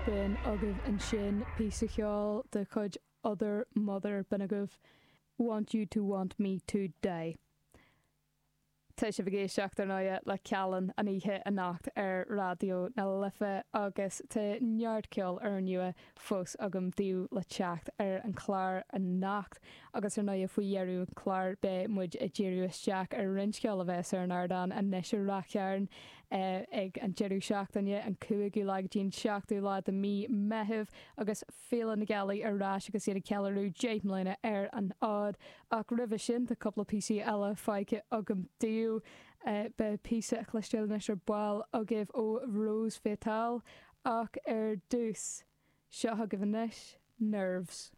B'in agaibh ansin píosa ceoil de chuid Other Mother, b'in agaibh Want You To Want Me To Die. Tá sibh ag éisteacht, ar ndóighe, le Callin an oíche anocht ar Raidió na Life agus tá neart ceoil úrnua fós agam daoibh le teacht ar an chlár anocht agus ar ndóighe faoi dheireadh an chláir beidh muid ag díriú isteach ar roinnt ceoil a bheas ar an ardán anois i Ráth Chairn ag an deireadh seachtaine, an 5ú lá go dtí an 7ú lá de mí Meitheamh agus Féile na Gealaí ar ais agus iad ag ceiliúradh 10 mbliana ar an fhód. Ach roimhe sin tá cúpla píosaí eile fágtha agam daoibh. Beidh píosa a chloisteáil anois ar ball agaibh ó Rose Fatale ach ar dtús, seo chugaibh anois, Nerves.